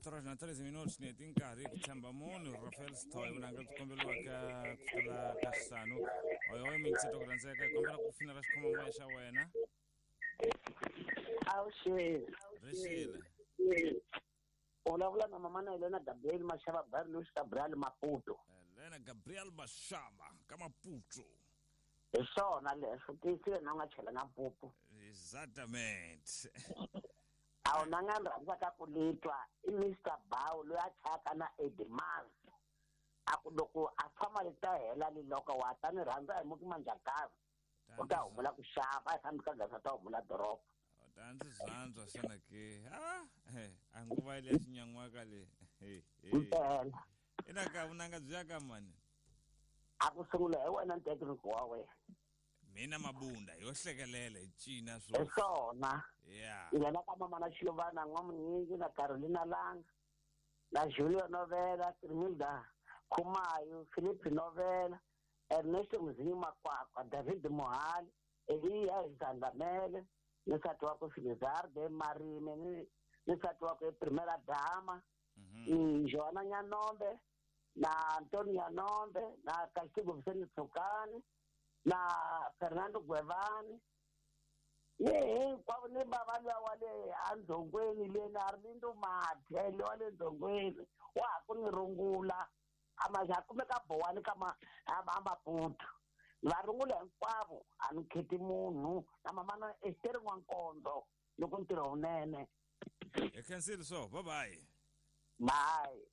4 horas na 13 minutos ni heti nkarhi ku tshemba munhu Rafael Sithole vunanga byi komberiwaka ku fikela ka xisanu oyoyo mingiseto ku rhandzeka hi kombela ku finela xikhoma moya xa wena. Avuxeni. Rixile. U vulavula na mama na Helena Gabriel Mashava Barlus Gabriel Maputo. Helena Gabriel Mashava ka Maputo. Hi swona leswo tiyisile na u nga chelanga mpupu. Exatamente. A wu na nga ni rhandzaka ku litwa i Mr Bow loyi a chayaka na Eddie Mars. A ku loko a famba li ta hela liloko wa ta ni rhandza hi muki manjakazi. U ta humula ku xava a hi fambi ka gasa ta humula doroba. Ta ndzi zwanzwa xana ke a a nguva leya xinyan'waka le. Mpela. Ina ka vunanga byi ya ka mani? A ku sungula hi wena ntekiriko wa wena. Mina Mabunda yo hlekelela hi cina swo. Hi swona. Yeah. Nghena ka mama na Xilovana N'wamunyingi na Carolina Langa na Julio Novela, Trimilda Khumayo, Philip Novela, Ernesto Mzinyi Makwakwa, David Mohali, Eliya Zandamele, ni nsati wakwe Filizarde Marime, ni nsati wakwe Primera Dama, Joana Nyanombe, na Antonio Nyanombe, na Castigo Vicente Tsukani, na Fernando Gwevani, ni hinkwavo ni bava luya wa le andzhongweni leni a ri ni Mathe le wa le ndzhongweni wa ha ku ni rungula a ma ha kumeka bowani ka ma a Maputo va rungula hinkwavo a ni kheti munhu na mamana Esther N'wankondo loko ntirho wunene. Hi khensile so bye bye. Bye.